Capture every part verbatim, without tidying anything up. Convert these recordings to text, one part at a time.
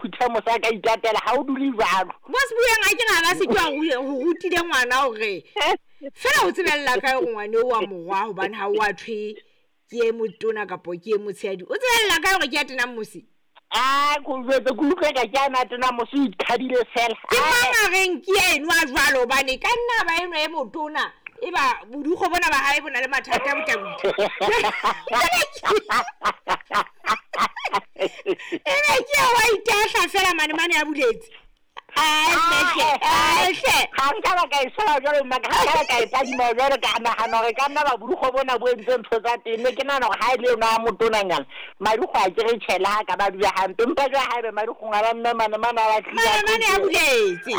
phuthe mosa ka itatela ha o dule jwalo. Bo se bueng a ke ra ba se ke wa ho rutile ngwana hore fela o tsebella kae hore ngwane o wa morwa hobane ha o a thwe ke e motona kapa ke e motshehadi. O tsebella kae hore ke ya tenang mosi? Ah, ko jwetse ke utlwe ka ke ana tena mosi o iqhadile fela. Ke mang a reng ke enwa jwalo hobane ka nna ba enwa e motona e ba bodukgo bona ba hae bona le mathata a botabodi. E be ke wa itahla fela mane mane a buletse. Ai ai ha nka ba ka e sola jwalo mma ka ha ka e tadima jwalo ka nahana hore ka nna ba bodukgo bona bo entse ntho tsa teng. Ne ke nahana hore ha e le yona motonanyana madikgo a ke re tjhela ha ka ba dula hampe empa jwale haebe madikgong a ba mme mane mane a ba mane mane a buletse.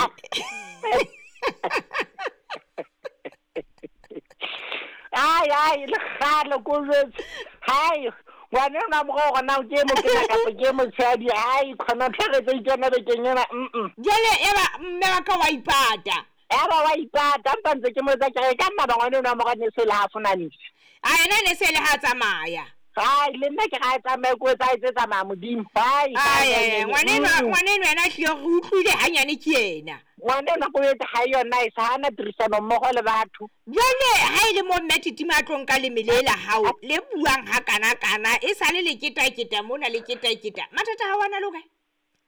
Ai ai le kgale ko jwetse hai ngwana ena morao hore na ke motona kapa ke motshehadi ai khona tlhare tse itsena bekeng ena mm jwale eba mme wa ka wa ipata eba wa ipata mpa ntse ke mo etsa ke re ka nna ba ngwana ena morao ne se le ha fonanise a ena ne se le ha tsamaya ai le nna ke ga e tsamaye ko etsa etse tsamaya modimo ai ai ngwana ena ngwana ena ena hlile re utlwile hanyane ke yena ngwana ena go etsa ha yona e sa hana tirisano mmogo le batho. Jwale ha e le mo mme Titima a tlo nka lemele la hao le buang ha kana kana e sale le ketaketa mona le ketaketa mathata ha wana loka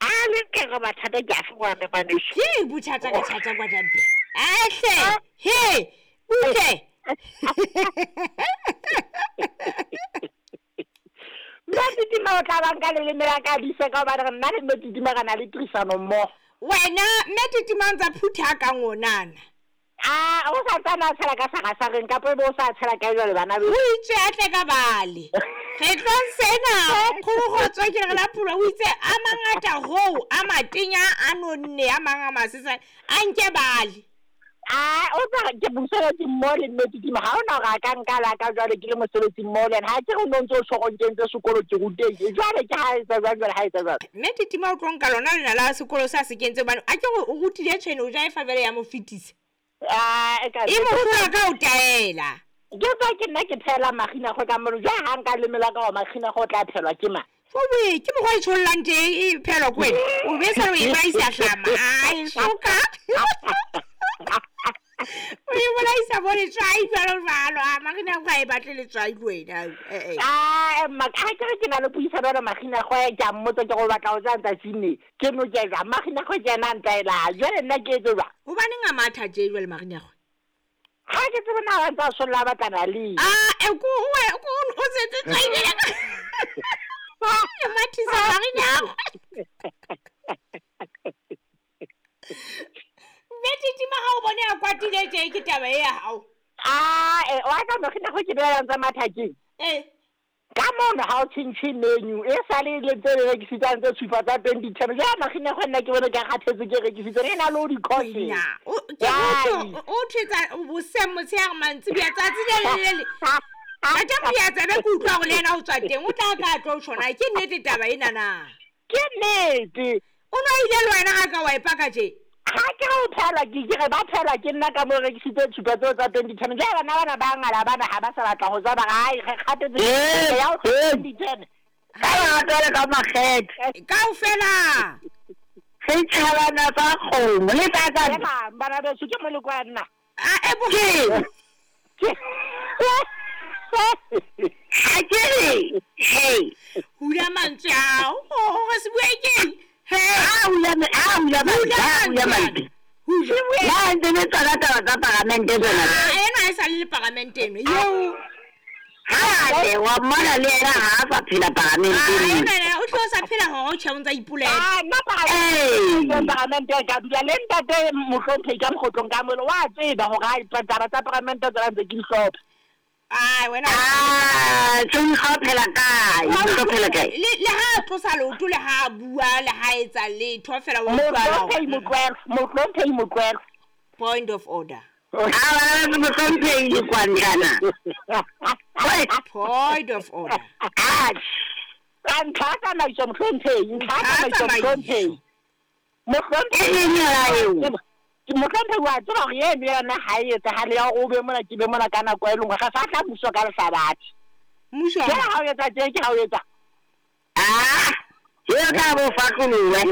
a le ke re mathata ke a fngwana maneso ke bothata ka thata kwa tampe ahle he butle Mme Titima o tla ba nka leleme la ka dise ka hobane nna le mme Titima re na le tirisano mmogo. Wena mme Titima ntsa phutha ka ngonana. Ah, o sa tsana tshela ka sagasareng kapa ebe o sa tshela ka jwale bana be. O itse a tle ka bale. Re tlo sena kgorogotswa ke re la phula o itse a mangata hoo a matenya a nonne a mang a masesane a nke bale. Ah, o tsa ke mosebetsi mmoho le mme Titima ha ona hore a ka nka la ka jwale ke le mosebetsi mmoho le yena ha ke re o no ntso o tjho hore o nkentse sekolo ke rutehile jwale ke ha etsa jwang jwale ha etsa jwalo. Mme Titima o tlo nka lona lena la sekolo sa se kentse hobane a ke re o rutile tshwene o ja e fa jwale ya mo fetisa. Ah, e ka e mo hlola ka o taela. Ke tswa ke nna ke phela magina go ka molo jwale ha nka lemela ka wa magina go tla phelwa ke mang. Fowe ke mokgwa e tshollang teng e phelwa ko wena o be sa o e bolaisa hlama ai soka o e bolaisa bo letswai jwalo jwalo a magina go a e batle letswai le wena eh eh ah mma ha ke re ke na le puisano le magina go ke a mmotsa ke go batla ho ja ntsatsing ne ke no ke ja magina go ke ena ntaela jwale nna ke etse jwang hobaneng a matha tje jwale magina go ha ke tsebe na ba ntsa solla batlana le ah e ko o o setse tswaile ka mathisa magina Mme Titima ha o bone a kwatile tje ke taba e ya hao. Ah, eh wa ka magina go ke beela ntsa mathakeng. Eh. Ka mona ha o tjhentjhe menu e sale le tse re rekisitsang tse supa tsa twenty ten jwale magina go nna ke bone ke kgathetse ke rekisitse re na le o di-course. Na, o ke motho o thetsa boseng motshehare mantsiboya tsatsi le le le. Ate moya tsebe ke utlwa hore le yena o tswa teng o tla ka tlo tjhona ke nnete taba ena na. Ke nnete. O no ile le wena ha ka wa ipaka tje. Ha ke re o phelwa ke ke re ba phelwa ke nna ka mo rekisitse tshupa tseo tsa twenty ten jwale bana bana ba ngala bana ha ba sa batla ho tswa ba re ai re kgathetse ya ho twenty ten ka ba ka makgethe kaofela setjhabana sa kgomo le tsa tsa bana beso ke moleko wa nna a e bo ke ha ke re hey hula mantswe ao hore se bue keng he a hula a hula mantswe a hula mantswe la ntse le tsona taba tsa paramente tsona ah ena e sa le paramente eno eo ha le wa mmona le yena ha a sa phela paramenteng ah ena o tlo sa phela hore o tjhe o ntsa ipolela ah nna paramente paramente ka dula le ntate mohlomphehi ka mokgotlong ka molo wa tseba hore ha taba tsa paramente tsona ntse ke di hlopha. Ai wena ah tjong ha phela kae o phela kae le le ha tlosa leoto le ha bua le ha etsa letho fela wa utlwa mohlomphehi Motlwelo mohlomphehi Motlwelo point of order ah mohlomphehi Kwandlana point of order ah ntlha tsamaiso mohlomphehi ntlha tsamaiso mohlomphehi mohlomphehi ke mohlomphehi wa tseba hore eno yona ha e etsahale ya hore o be mona ke be mona ka nako e lengwe ga sa tla mmuso ka lehlabathe mmuso ha o etsa tje ke ha o etsa ah eo ka bo fatlolowe.